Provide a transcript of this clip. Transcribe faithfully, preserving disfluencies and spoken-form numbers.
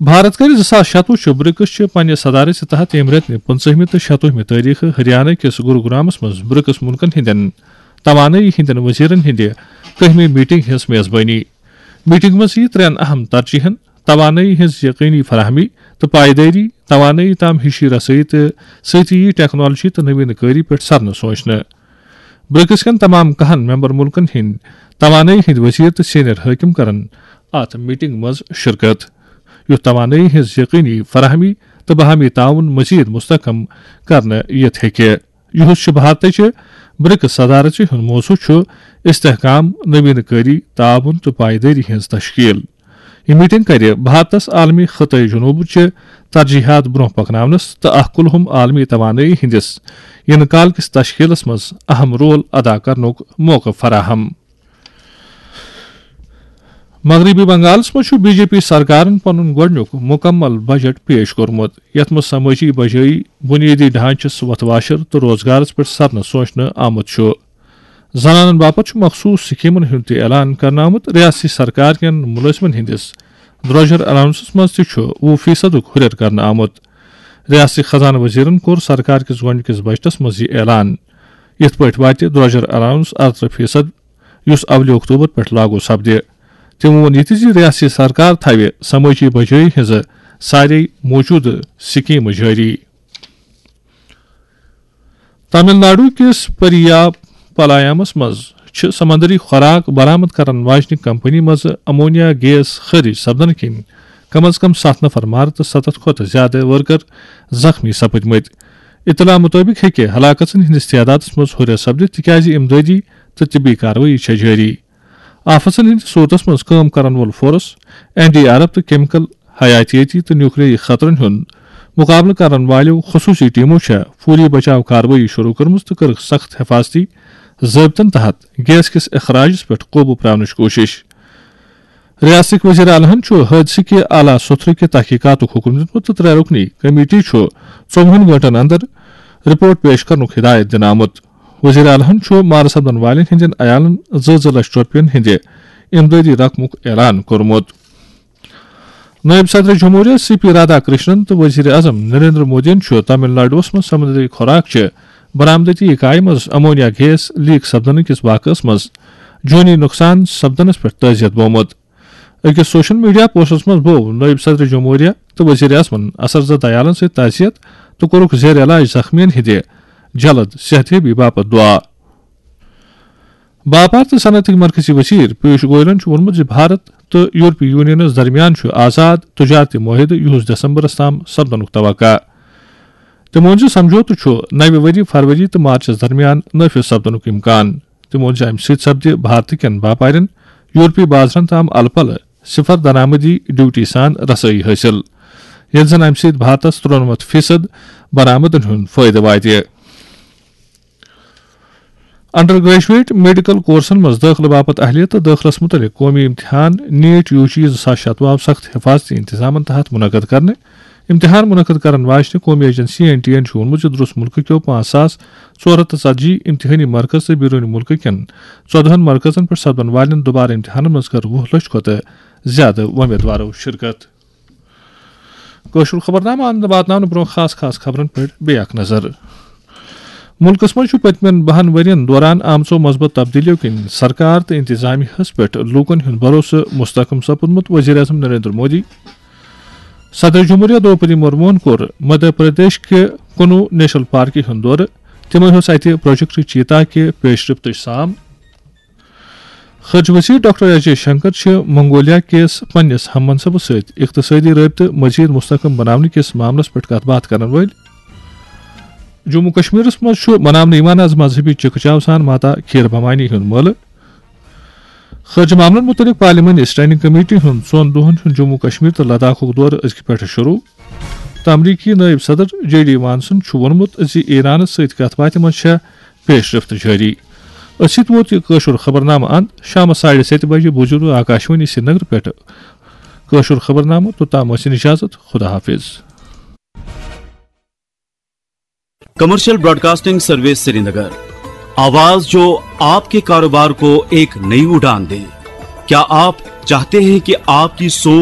بھارت کَرِ زٕ ساس شَتوُہ چہِ برکس چہِ پننہِ صدارت تحت ییٚمہِ رٮ۪تہٕ نہِ پٕنٛژٕہمہِ تہٕ شَتوُہمہِ تٲریخہٕ ہریانہ کِس گروگرامس منٛز برکس مُلکن ہٕنٛدٮ۪ن توانٲیی ہٕنٛدٮ۪ن وزیرن ہٕنٛدِ کٔہمہِ میٹنگ ہٕنٛز میزبٲنی۔ میٹنگ منٛز یِیہِ ترٛٮ۪ن اہم ترجیحن، توانٲیی ہٕنٛز یقینی فراہمی تہٕ پائیدٲری، توانٲیی تام ہِشی رسٲیی تہٕ سۭتۍ یِیہِ ٹیکنالوجی تہٕ نوین کٲری پٮ۪ٹھ سرنہٕ سوچنہٕ۔ برکس کٮ۪ن تمام کاہن ممبر ملکن ہٕنٛدۍ توانٲیی ہٕنٛدۍ وزیر تہٕ سینئر حٲکم کرن اتھ میٹنگ منٛز شرکت، یُتھ توانٲیی ہٕنٛز یقینی فراہمی تہٕ باہمی تعاون مزید مستحکم کرنہٕ یِتھ ہیٚکہِ۔ یُہُس چھُ بھارتٕچہِ برکس صدارژ ہُنٛد موضوع چھُ استحکام، نوین کٲری، تعاون تہٕ پائیدٲری ہٕنٛز تشکیل۔ یہِ میٹنگ کرِ بھارتس عالمی خطے جنوبچہِ ترجیحات برونٛہہ پکناونس تہٕ اکھ کُلہُم عالمی توانٲیی ہٕنٛدِس یِنہٕ کال کِس تشکیلس منٛز اہم رول ادا کرنُک موقعہٕ فراہم۔ مغربی بنگالس منٛز چھُ بی جے پی سرکارن پنُن گۄڈٕنیُک مُکمل بجٹ پیش کوٚرمُت، یتھ منٛز سمٲجی بجٲیی، بنیٲدی ڈھانچس وتھ واشر تہٕ روزگارس پٮ۪ٹھ سرنہٕ سوچنہٕ آمُت چھُ۔ زنانن باپتھ چھُ مخصوص سکیمن ہُنٛد تہِ اعلان کرنہٕ آمُت۔ ریاستی سرکار کٮ۪ن مُلٲزمن ہٕنٛدِس درٛۄجر الاونسس منٛز تہِ چھُ وُہ فیصدُک ہُرٮ۪ر کرنہٕ آمُت۔ ریاستی خزانہٕ وزیرن کوٚر سرکار کِس گۄڈٕنِکِس بجٹس منٛز یہِ اعلان۔ یِتھ پٲٹھۍ واتہِ درٛۄجر الاونس ارترٕہ فیصد، یُس اولہِ اکتوبر پٮ۪ٹھ لاگو سپدِ۔ تِمو ووٚن یہِ تہِ زِ ریاستی سرکار تھاوِ سمٲجی بجٲیی ہٕنٛزٕ سارے موجودٕ سکیمہٕ جٲری۔ تامل ناڈو کِس پریا پالایامس منٛز چھِ سمندری خوراک برآمد کرن واجنہِ کمپنی منٛز امونیا گیس خٲرج سپدنہٕ کِنۍ کم از کم ستھ نفر مارٕ تہٕ ستتھ کھۄتہٕ زیادٕ ورکر زخمی سپٕدمٕتۍ۔ اطلاع مُطٲبِق ہیٚکہِ ہلاکژن ہٕنٛدِس تعدادس منٛز ہُرٮ۪ر سپدِتھ، تِکیازِ امدٲدی تہٕ طبی کاروٲیی چھےٚ جٲری۔ آفژن ہٕنٛدِس صوٗرتس منٛز کٲم کرن وول force, N D R F تہٕ کیمیکل حیاتیٲتی تہٕ نیوکلیائی خطرن ہُنٛد مُقابلہٕ کرن والیو خصوٗصی ٹیمو چھےٚ فوری بچاو کاروٲیی شروٗع کٔرمٕژ تہٕ کٔرٕکھ سخت حفاظتی ضٲبطن تحت گیس کِس اخراجس پٮ۪ٹھ قوبوٗ پراونٕچ کوٗشش۔ ریاستٕکۍ وزیر اعلیٰ ہَن چھُ حٲدثہٕ کہِ اعلیٰ سوٚتھرٕ کہِ تحقیقاتُک حُکم دیُتمُت تہٕ ترٛےٚ رُکنی کمیٹی چھُ ژوٚوُہن گٲنٛٹن اندر رپورٹ پیش کرنُک ہدایت دِنہٕ آمُت۔ وزیر اعلیٰ ہَن چھُ مارٕ سپدن والٮ۪ن ہٕنٛدٮ۪ن عیالَن زٕ زٕ لچھ رۄپین ہٕنٛدِ امدادی رقمُک اعلان کوٚرمُت۔ نٲیِب صدر جمہوریہ سی پی رادھا کرشنن تہٕ وزیر اعظم نریندر مودیَن چھُ تامل ناڈوَس منٛز سمندری خوراک چہِ برآمدٲتی اکایہِ منٛز امونیا گیس لیک سپدنہٕ کِس واقعس منٛز جٲنی نۄقصان سپدنس پٮ۪ٹھ تعزیت بومُت۔ أکِس سوشل میڈیا پوسٹس منٛز بوو نٲیِب صدر جمہوریہ تہٕ وزیر اعظمن اثر زدہ عیالن سۭتۍ تعزیت تہٕ کوٚرُکھ زیر علاج زخمیَن ہٕنٛدِ جلد صحت یابی باپتھ دُعا۔ باپار تہٕ صنعتٕکۍ مرکزی وزیر پیوش گوئلن چھُ ووٚنمُت زِ بھارت تہٕ یورپی یونینَس درمیان چھُ آزاد تجارتی معاہدٕ یُہُس دسمبرَس تام سپدنُک توقع۔ تٔمۍ ووٚن زِ سمجھوتہٕ چھُ نَوِ ؤری فروری تہٕ مارچَس درمیان نافذ سپدنُک امکان۔ تٔمۍ ووٚن زِ اَمہِ سۭتۍ سپدِ بھارتہٕ کٮ۪ن باپارٮ۪ن یورپی بازرَن تام الہٕ پلہٕ صفر درآمدی ڈیوٹی سان رسٲیی حٲصِل، ییٚلہِ زَن اَمہِ سۭتۍ بھارتَس ترٛنَمَتھ فیصد برآمدن ہُنٛد فٲیدٕ واتہِ۔ انڈر گریجویٹ میڈیکل کورسن منٛز دٲخلہٕ باپتھ اہلیت تہٕ دٲخلس مُتعلق قومی امتحان نیٹ یو جی زٕ ساس شتوُہ آو سخت حفاظتی انتظامن تحت منعقد کرنہٕ۔ امتحان منعقد کرن واجنہِ قومی ایجنسی این ٹی اے ہَن چھُ ووٚنمُت زِ درست مُلکہٕ کیو پانٛژھ ساس ژور ہَتھ تہٕ ژتجی امتحٲنی مرکز تہٕ بیروٗنی مُلکہٕ کٮ۪ن ژۄدہَن مرکزن پٮ۪ٹھ سپدن والٮ۪ن دُبارٕ امتحانن منٛز کٔر وُہ لچھ کھۄتہٕ زیادٕ وۄمیدوارو شرکت۔ کٲشُر خبرنامہٕ اَنہٕ واتناونہٕ برٛونٛہہ خاص خاص خبرن پٮ۪ٹھ بیٚیہِ اکھ نظر۔ مُلکَس منٛز چھُ پٔتمٮ۪ن بَہَن ؤرۍ یَن دوران آمژو مثبت تبدیلیو کِنۍ سرکار تہٕ انتظامیہ ہَس پٮ۪ٹھ لوٗکَن ہُنٛد بھروسہٕ مستحکم سپُدمُت۔ وزیر اعظم نریندر مودی۔ صدر جمہوریہ دروپدی مرموہن کوٚر مدھیہ پردیش کہِ کُنو نیشنل پارکہِ ہُنٛد دورٕ۔ تٔمۍ ہیوٚژ اَتہِ پروجیکٹ چیتا کہِ پیش رفتٕچ سام۔ خارجہ وزیر ڈاکٹر ایس جے شنکر چھِ منگولیا کِس پننِس ہم منصبس سۭتۍ اقتصٲدی رٲبطہٕ مزید مستحکم بناونہٕ کِس معاملس پٮ۪ٹھ کتھ باتھ کرن وٲلۍ۔ جموں کشمیرس منٛز چھُ مناونہٕ یِوان از مذہبی چکہ چاو سان ماتا کھیٖر بھوانی ہُنٛد مٲلہٕ۔ خارجہ معاملن مُتعلق پارلیمانی اسٹینڈنگ کمیٹی ہُنٛد ژۄن دۄہن ہُنٛد جموں کشمیر تہٕ لداخُک دورٕ أزکہِ پٮ۪ٹھٕ شروع۔ تہٕ امریکی نائب صدر جے ڈی وانسن چھُ ووٚنمُت زِ ایرانس سۭتۍ کتھ باتھِ منٛز چھےٚ پیش رفت جٲری۔ أتھۍ سۭتۍ ووت یہِ کٲشُر خبرنامہٕ اند شامس ساڑِ ستہِ بجہِ۔ بوٗزِو آکاشوانی سرینگر پٮ۪ٹھ کٲشُر خبرنامہٕ۔ توٚتام ٲسِن اجازت، خدا حافظ۔ کمرشل براڈکاسٹنگ سروس سرینگر، آواز جو آپ کے کاروبار کو ایک نئی اڑان دے۔ کیا آپ چاہتے ہیں کہ آپ کی سوچ